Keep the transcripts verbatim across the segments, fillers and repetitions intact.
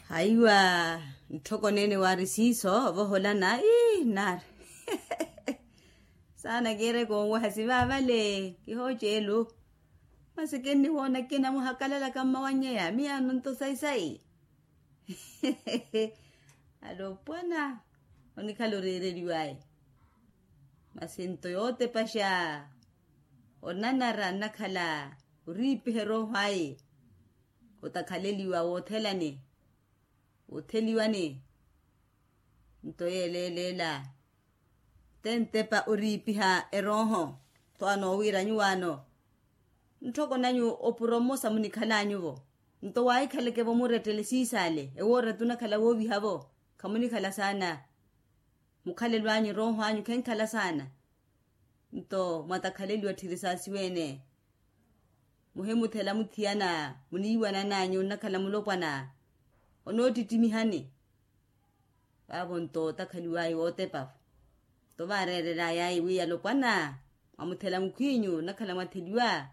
Haiwa, ntthoko neene waari siiso ovoholana ii naari. Saana kiireke onweha sivaavale kihooceelu. Masi kinnihoona kinamuhakalalaka mmawanyeya miyaano nto sayi-sayi. Alopwana, onikhala oreereliw'aya. Masi nto yootepaxa onanara nnakhala oriipiha erooho aye. Otakhaleliwa woothelani, wootheliwani. Nto yeeleeleela tentepa oriipiha erooho. Tho anoowiira nyuwaano, ntthoko nanyu opuro mmosa munikhalanyuvo. Nto waahikhaleke-vo murettele siisaale ewoora tunakhala wooviha-vo. Khamunikhala saana. Mukhalelo anyu erooho anyu khenkhala saana. Nto mwatakhaleliwa tthiri saasiweene. Muhimuthela muthiyana muniiwanan'anyu nnakhala mulopwana. Onoottittimiha-ni. Vaavo nto otakhaliw'aya wootepa-vo. Nto vaareerel'aya ayi wi alopwana, mwamuthela mukhw'inyu nnakhala mwatheliwa.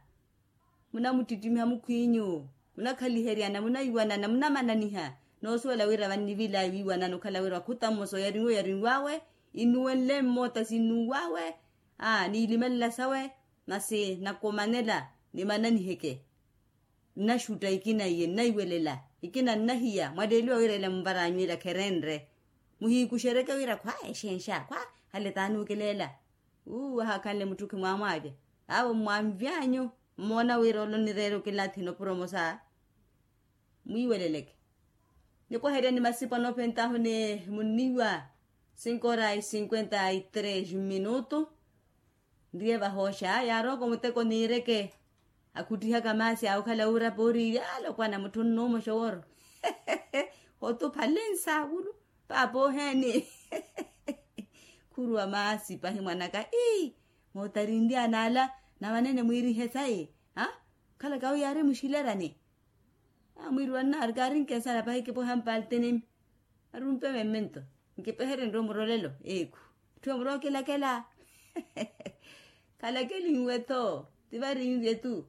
Munamuttittimiha mukhw'inyu, munakhaliheryana munaiwanana munamananiha. Noosuwela wira vannivil'aya wiiwanana okhala wira wakhuta mmosa oyarinwe oyarinw'awe, innuwenle mmoota sinnuw'awe. Aa niilimelela sawe. Masi nakomanela nimananiheke. Nnaxutta ikina iye nnaiwelela, ikina nnahiya mwatteliwa wira ila munvar'anyu ila kherenre. Muhiikuxereke wira khwa exenxa khwa, hale taanuukileela. Uu wahaakhanle mutthukhi mwaamwaavya. Awo mmwanvy'anyu, mmoona wira ole onireera okilathi nopuro emosa. Mwiiweleleke. Nikweheryani masipa noophent'ahu ni munniiwa. Cinco horas y cinquenta y tres minuto. Nriye vahooxa yaarooko muteko niireke. Akhuttihaka maasi awokhala wuurapa oriiri alopwana mutthu onnuuma oxoworo. Otuphale nsaavulu. Paapa oheeni. Khuruwa maasi pahi mwanaka ii. Mootarinry'ana ala na vanene mwiirihe sayi. Ha? Khalaka wi yaari muxilerani. Amwiiriwa nnaari kaari nkensala pahi kipweha mpaltinimi. Arumpe memmento. Nkipeherye nrowa murolelo eekhu. Etthu emurookelakela. Khalakelinwe-tho. Tivarinvye-tu.